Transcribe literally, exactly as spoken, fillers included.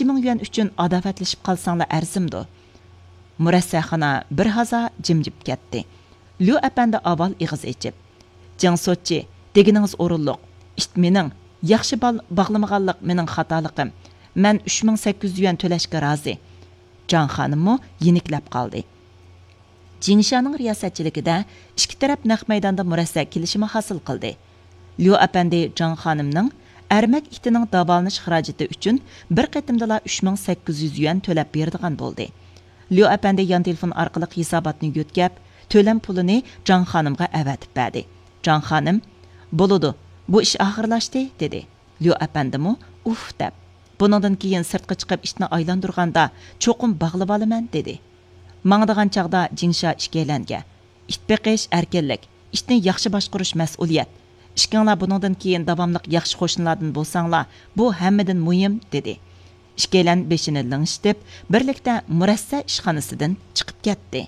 مىڭ يۈەن ئۈچۈن ئاداۋەتلىشىپ قالساڭلا ئەرزىمدۇ؟ مۇرەسسەخانا بىر ھازا جىمجىپ كەتتى. ليۇ ئەپەندى ئاۋۋال ئېغىز ئېچىپ، جېڭ سوتچى، دېگىنىڭىز ئورۇنلۇق. ئىت مېنىڭ، ياخشى بال باغلىمىغانلىق مېنىڭ خاتالىقىم. مەن ئۈچ مىڭ سەككىز يۈەن تۆلەشكە رازى. جاڭ خانىممۇ يېنىكلەپ قالدى. جىڭشانىڭ رىياسەتچىلىكىدە ئىككى تەرەپ نەق مەيداندا مۇرەسسە كېلىشىمى ھاسىل قىلدى. ليۇ ئەپەندى جاڭ خانىمنىڭ ئەرمەك ئىتىنىڭ داۋالىنىش خىراجىتى ئۈچۈن بىر قېتىمدىلا ئۈچ مىڭ سەككىز يۈز يۈەن تۆلەپ بېرىدىغان بولدى. ليۇ ئەپەندى يان تېلېفون ئارقىلىق ھېساباتنى يۆتكەپ، تۆلەم پۇلىنى جاڭ خانىمغا ئەۋەتىپ بەردى. جاڭ خانىم، بولىدۇ، بۇ ئىش ئاخىرلاشتى، دېدى. ليۇ ئەپەندىمۇ ئۇھ دەپ، بۇنىڭدىن كېيىن سىرتقا چىقىپ ئىتنى ئايلاندۇرغاندا چوقۇم باغلىۋالىمەن، دېدى. ماڭىدىغان چاغدا جىڭشا ئىككىيلەنگە، ئىت بېقىش ئەركىنلىك، ئىتنى ياخشى باشقۇرۇش مەسئۇلىيەت. ئىككىڭلار بۇنىڭدىن كېيىن داۋاملىق ياخشى قوشنىلاردىن بولساڭلار، بۇ ھەممىدىن مۇھىم، دېدى. ئىككىيلەن بېشىنى لىڭشىتىپ، بىرلىكتە مۇرەسسە ئىشخانىسىدىن چىقىپ كەتتى.